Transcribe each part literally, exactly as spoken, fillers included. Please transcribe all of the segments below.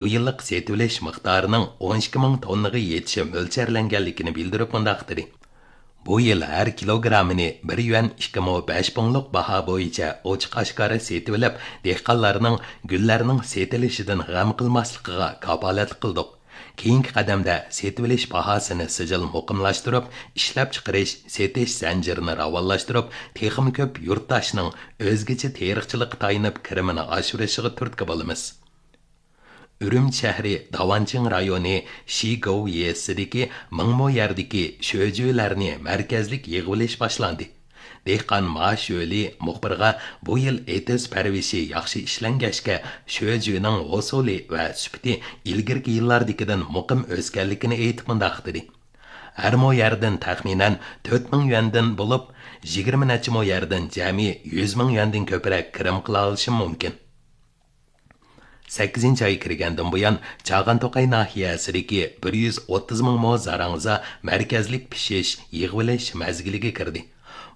بۇ يىللىق سېتىۋېلىش مىقدارىنىڭ ئون ئىككى مىڭ توننىغا يېتىشى مۆلچەرلەنگەنلىكىنى بىلدۈرۈپ مۇنداق دېدى: بۇ يىل ھەر كىلوگراممىنى بىر يۈەن ئىككى مو بەش پۇڭلۇق باھا بويىچە ئوچۇق ئاشكارا سېتىۋېلىپ، دېھقانلارنىڭ گۈللەرنىڭ سېتىلىشىدىن غەم قىلماسلىقىغا كاپالەتلىك قىلدۇق. كېيىنكى قەدەمدە سېتىۋېلىش باھاسىنى سىجىل مۇقىملاشتۇرۇپ، ئىشلەپچىقىرىش، سېتىش زەنجىرىنى راۋانلاشتۇرۇپ، تېخىمۇ كۆپ يۇرتداشنىڭ ئۆزگىچە تېرىقچىلىققا تايىنىپ كىرىمىنى ئاشۇرۇشىغا تۈرتكە بولىمىز. ئۈرۈمچى شەھىرى داۋانچىڭ رايونى شىگوۋ يېزىسىدىكى مىڭ مو يەردىكى شۆجۈلەرنى مەركەزلىك يىغىۋېلىش باشلاندى. دېھقان ما شۆلى مۇخبىرغا بۇ يىل ئېتىز پەرۋىشى ياخشى ئىشلەنگەچكە، شۆجۈنىڭ ھوسۇلى ۋە سۈپىتى ئىلگىرىكى يىللاردىكىدىن مۇقىم ئۆسكەنلىكىنى ئېيتىپ مۇنداق دېدى: ھەر مو يەردىن تەخمىنەن تۆت مىڭ يۈەندىن بولۇپ، يىگىرمە نەچچە مو يەردىن جەمئىي يۈز مىڭ يۈەندىن كۆپرەك كىرىم قىلالىشىم مۇمكىن. سەككىزىنچى ئاي كىرگەندىن بۇيان، چاغان توقاي ناھىيەسىدىكى بىر يۈز ئوتتۇز مىڭ مو زاراڭزا مەركەزلىك پىشىش، يىغىۋېلىش مەزگىلىگە كىردى.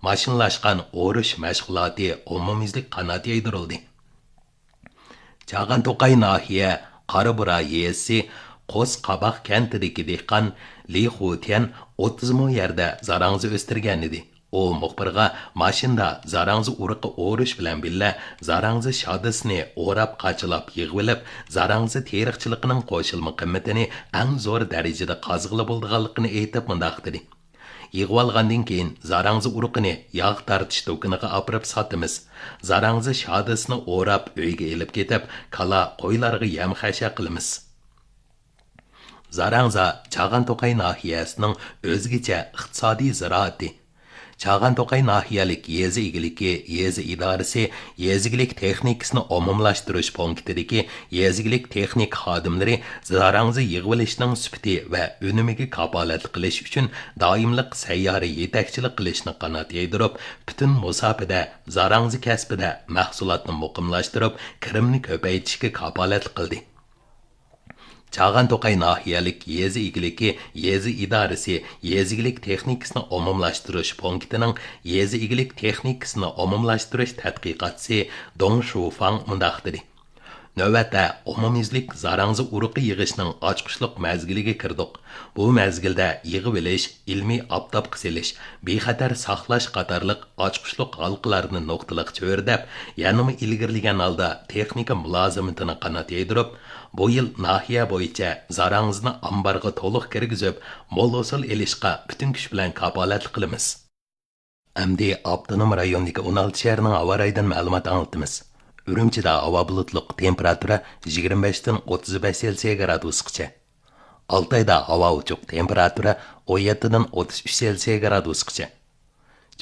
ماشىنىلاشقان ئورۇش مەشغۇلاتى ئومۇميۈزلۈك قانات يايدۇرۇلدى. چاغان توقاي ناھىيە قارابۇرا يېزىسى قوس قاباق كەنتىدىكى دېھقان لى خۇتيەن ئوتتۇز مو يەردە زاراڭزا ئۆستۈرگەنىدى. ئۇ مۇخبىرغا ماشىنىدا زاراڭزا ئۇرۇقى ئورۇش بىلەن بىللە زاراڭزا شادىسىنى ئوراپ، قاچىلاپ يىغىۋېلىپ، زاراڭزا تېرىقچىلىقىنىڭ قوشۇلما قىممىتىنى ئەڭ زور دەرىجىدە قازغىلى بولىدىغانلىقىنى ئېيتىپ مۇنداق دېدى: يىغىۋالغاندىن كېيىن، زاراڭزا ئۇرۇقىنى ياغ تارتىش دۇكىنىغا ئاپىرىپ ساتىمىز. زاراڭزا شادىسىنى ئوراپ، ئۆيگە ئېلىپ كېتىپ، كالا، قويلارغا يەم خەشەك قىلىمىز. زاراڭزا چاغان توقاي ناھىيەسىنىڭ ئۆزگىچە ئىقتىسادىي زىرائىتى. چاغان توقاي ناھىيەلىك يېزا ئىگىلىكى يېزا ئىدارىسى يېزا ئىگىلىك تېخنىكىسىنى ئومۇملاشتۇرۇش پونكىتىدىكى يېزا ئىگىلىك تېخنىكا خادىملىرى زاراڭزا يىغىۋېلىشنىڭ سۈپىتى ۋە ئۈنۈمىگە كاپالەتلىك قىلىش ئۈچۈن دائىملىق سەييارە يېتەكچىلىك قىلىشنى قانات يايدۇرۇپ، پۈتۈن مۇساپىدە زاراڭزا كەسپىدە مەھسۇلاتنى مۇقىملاشتۇرۇپ، كىرىمنى كۆپەيتىشكە كاپالەتلىك قىلدى. چاغان توقاي ناھىيەلىك يېزا ئىگىلىكى يېزا ئىدارىسى يېزا ئىگىلىك تېخنىكىسىنى ئومۇملاشتۇرۇش پونكىتىنىڭ يېزا ئىگىلىك تېخنىكىسىنى ئومۇملاشتۇرۇش تەتقىقاتچىسى دۇڭ شۇفاڭ مۇنداق دېدى: نۆۋەتتە ئومۇميۈزلۈك زاراڭزا ئۇرۇقى يىغىشنىڭ ئاچقۇچلۇق مەزگىلىگە كىردۇق. بۇ مەزگىلدە يىغىۋېلىش، ئىلمىي ئاپتاپقا سېلىش، بىخەتەر ساقلاش قاتارلىق ئاچقۇچلۇق ھالقىلارنى نۇقتىلىق چۆرىدەپ، يەنىمۇ ئىلگىرىلىگەن ھالدا تېخنىكا مۇلازىمىتىنى قانات يايدۇرۇپ، بۇ يىل ناھىيە بويىچە زاراڭزىنى ئامبارغا تولۇق كىرگۈزۈپ، مول ھوسۇل ئېلىشقا پۈتۈن كۈچ بىلەن كاپالەتلىك قىلىمىز. ئەمدى ئاپتونوم رايوندىكى ئون ئالتە شەھەرنىڭ ھاۋا رايىدىن مەلۇمات ئاڭلىتىمىز. ئۈرۈمچىدە ھاۋا بۇلۇتلۇق، تېمپېراتۇرا يىگىرمە بەشتىن ئوتتۇز بەش سېلسىيە گرادۇسقىچە. ئالتايدا ھاۋا ئوچۇق، تېمپېراتۇرا ئون يەتتىدىن ئوتتۇز ئۈچ سېلسىيە گرادۇسقىچە.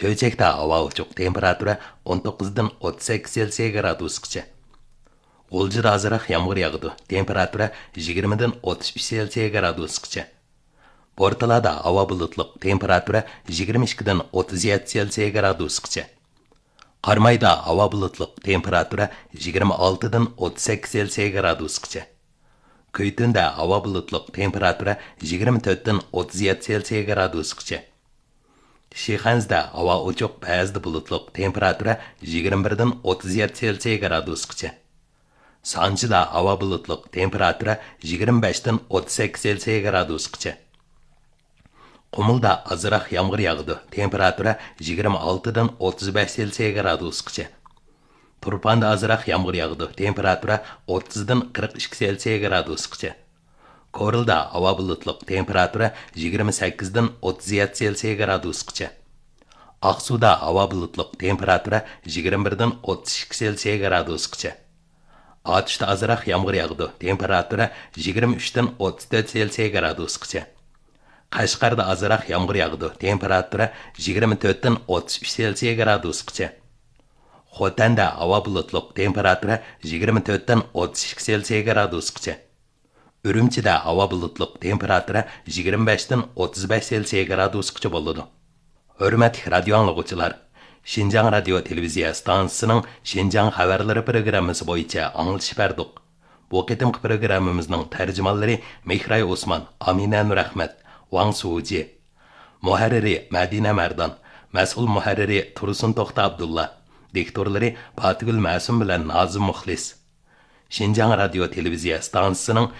چۆچەكتە ھاۋا ئوچۇق، تېمپېراتۇرا ئون توققۇزدىن ئوتتۇز سەككىز سېلسىيە گرادۇسقىچە. غۇلجىدا ئازراق يامغۇر ياغىدۇ، تېمپېراتۇرا يىگىرمىدىن ئوتتۇز ئۈچ سېلسىيە گرادۇسقىچە. بورتالادا ھاۋا بۇلۇتلۇق، تېمپېراتۇرا يىگىرمە ئىككىدىن ئوتتۇز يەتتە سېلسىيە گرادۇسقىچە. قارامايدا ھاۋا بۇلۇتلۇق، تېمپېراتۇرا يىگىرمە ئالتىدىن ئوتتۇز سەككىز سېلسىيە گرادۇسقىچە. كۈيتۈندە ھاۋا بۇلۇتلۇق، تېمپېراتۇرا يىگىرمە تۆتتىن ئوتتۇز يەتتە سېلسىيە گرادۇسقىچە. شىخەنزىدە ھاۋا ئوچۇق، بەزىدە بۇلۇتلۇق، تېمپېراتۇرا يىگىرمە بىردىن ئوتتۇز يەتتە سېلسىيە گرادۇسقىچە. سانجىدا ھاۋا بۇلۇتلۇق، تېمپېراتۇرا يىگىرمە بەشتىن ئوتتۇز سەككىز سېلسىيە گرادۇسقىچە. قۇمۇلدا ئازراق يامغۇر ياغىدۇ، تېمپېراتۇرا يىگىرمە ئالتىدىن ئوتتۇز بەش سېلسىيە گرادۇسقىچە. تۇرپاندا ئازراق يامغۇر ياغىدۇ، تېمپېراتۇرا ئوتتۇزدىن قىرىق ئىككى سېلسىيە گرادۇسقىچە. كورلىدا ھاۋا بۇلۇتلۇق، تېمپېراتۇرا يىگىرمە سەككىزدىن ئوتتۇز يەتتە سېلسىيە گرادۇسقىچە. ئاقسۇدا ھاۋا بۇلۇتلۇق، تېمپېراتۇرا يىگىرمە بىردىن ئوتتۇز ئىككى سېلسىيە گرادۇسقىچە. ئاتۇشتا ئازراق يامغۇر ياغىدۇ، تېمپېراتۇرا يىگىرمە ئۈچتىن ئوتتۇز تۆت سېلسىيە گرادۇسقىچە. قەشقەردە ئازراق يامغۇر ياغىدۇ، تېمپېراتۇرا يىگىرمە تۆتتىن ئوتتۇز ئۈچ سېلسىيە گرادۇسقىچە. خوتەندە ھاۋا بۇلۇتلۇق، تېمپېراتۇرا يىگىرمە تۆتتىن ئوتتۇز ئىككى سېلسىيە گرادۇسقىچە. ئۈرۈمچىدە ھاۋا بۇلۇتلۇق، تېمپېراتۇرا يىگىرمە بەشتىن ئوتتۇز بەش سېلسىيە گرادۇسقىچە بولىدۇ. ھۆرمەتلىك رادىيو ئاڭلىغۇچىلار، شىنجاڭ رادىيو تېلېۋىزىيە ئىستانسىسىنىڭ شىنجاڭ خەۋەرلىرى پروگراممىسى بويىچە ئاڭلىتىش بەردۇق. بۇ قېتىمقى پروگراممىمىزنىڭ تەرجىمانلىرى مېھراي ئوسمان، ئامىنە نۇرئەخمەت، ۋاڭ سۇجى. مۇھەررىرى مەدىنە مەردان، مەسئۇل مۇھەررىرى تۇرسۇن توختى ئابدۇللا، دىكتورلىرى پاتىگۈل مەسۇم بىلەن نازىم مۇخلىس. شىنجاڭ رادىيو تېلېۋىزىيە ئىستانسىسىنىڭ